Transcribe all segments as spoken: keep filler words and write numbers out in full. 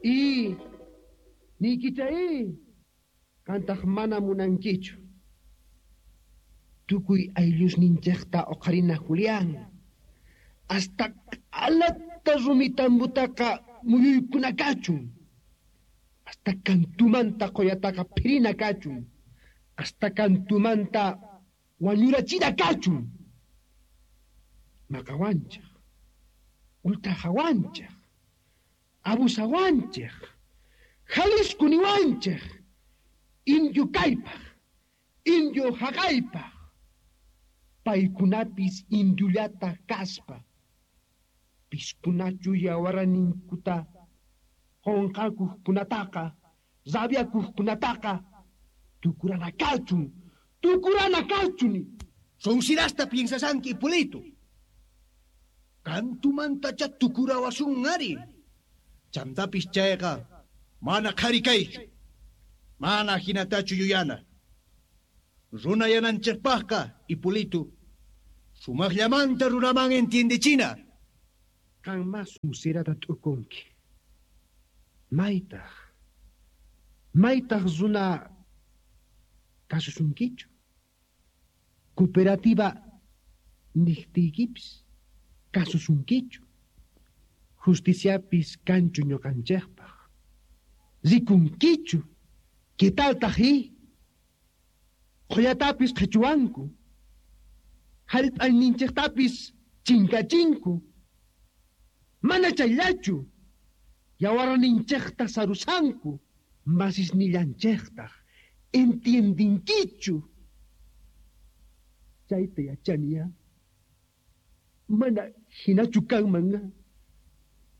I niykichay qantaq mana munankichu. Tukuy ayllusninchejta oqharina Julián. Hasta q'alata rumitambutaqa muyuykuna kachun. Hasta kantumanta qoyataqa phirina kachun. Hasta kantumanta wañurachina kachun. Maqawanchej, ultrajawanchej, abusawanchej, Jalisco niwanchej, indio kaypaj, indio jaqaypaj, paykunapis indiollata kaspa, piskunachu yawarninkuta qonqakuqkunataqa, rabiakuqkunataqa, tukurana kachun, tukurana kachun. Sonsirasta piensasanki, Hipólito. Kantumantacha tukurawasun ari. Chantapis chayqa mana qhari kaychu. Mana hinatachu yuyana. Runa yananchejpajqa, Hipólito, sumaqllamanta runaman entiendechina. Qanma sonsirata t'ukunki. Maytaq, maytaq runa kasusunkichu. Cooperativa niqtiykipis kasusunkichu. Justiciapis kanchu ñuqanchejpaj. Rikunkichu. ¿Qué taltaj i? Qhullatapis qhichuwanku. Hallp'ayninchejtapis chinkachinku. Mana chayllachu. Yawarninchejta sarusanku. Masisnillanchejtaj. Entiendinkichu. Chayta yachaniya. Mana hinachu kanman.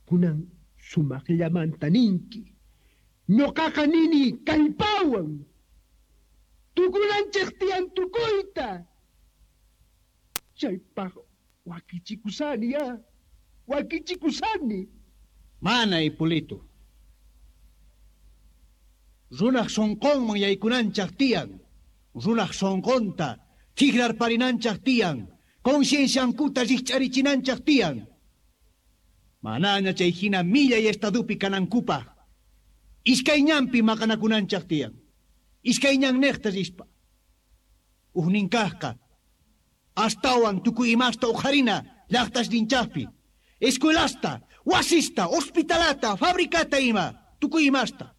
Kunan sumaqllamanta ninki. Ñuqaqa nini kallpawan. Tukunanchej tiyan tukuyta. Chaypaq wakichikusani ya. Wakichikusani. Mana, Hipólito. Runaj sonqonman yaykunanchaj tiyan. Runaj sonqonta tigrarparinanchaj tiyan. Concienciankuta rikch'arichinanchaj tiyan. Manaña chay hina millay estadupi kanankupaj. Iskayñanpi maqanakunanchaj tiyan. Iskayñannejta rispa. Ujninkajqa astawan tukuy imasta uqharina llaqtasninchajpi. Escuelasta, wasista, hospitalata, fabricata ima, tukuy imasta.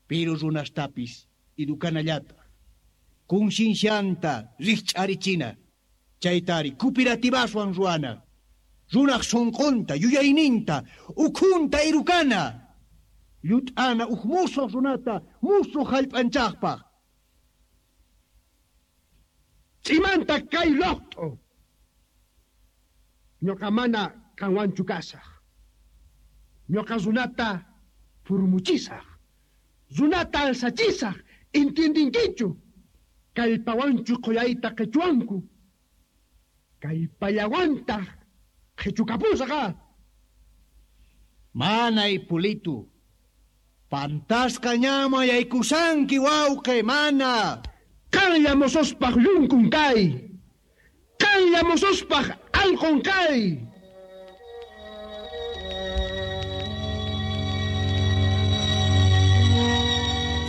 Pero runastapis edukanallata. Conciencianta rikch'arichina. Chaytari cooperativaswan ruwana. Runaj sonqonta, yuyayninta, ukhunta erukana. Llut'ana uj musuq runata, musuq hallp'anchajpaj. Ch'imanta kay loqt'u. Ñuqa mana qanwanchu kasaj. Ñuqa runata furmuchisaj. Runata alsachisaj. Entiendinkichu. Kallpawanchu qhullayta qichwanku. Kallpallawantaj qhichukapusaj. Mana, Hipólito. Pantasqa ñama yaykusanki, wawqi, mana. Qanlla mosospaj llunkun kay. Qanlla mosospaj allqun kay.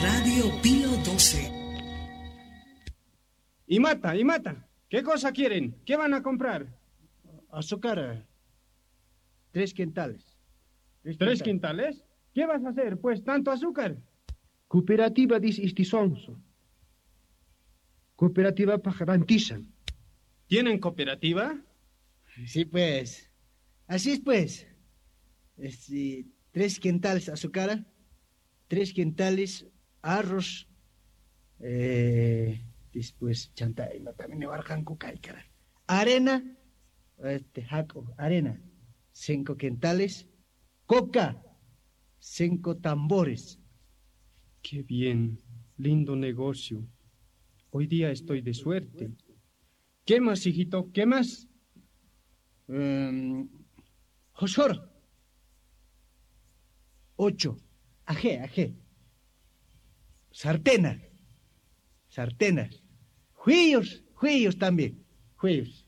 Radio Pío doce. Y mata, y mata. ¿Qué cosa quieren? ¿Qué van a comprar? Azúcar. Tres quintales. ¿Tres, ¿Tres quintales? ¿Qué vas a hacer, pues, tanto azúcar? Cooperativa dis istisonso. Cooperativa pajarantisan. ¿Tienen cooperativa? Sí, pues. Así es, pues. Este, tres quintales azúcar, tres quintales arroz, eh, después chanta, no, también arena, este, jaco, arena, cinco quintales, coca, cinco tambores. Qué bien, lindo negocio. Hoy día estoy de suerte. ¿Qué más, hijito? ¿Qué más? Um, Josor. Ocho. Ajé, ajé. Sartena. Sartenas. Juillos, juillos también. Juillos.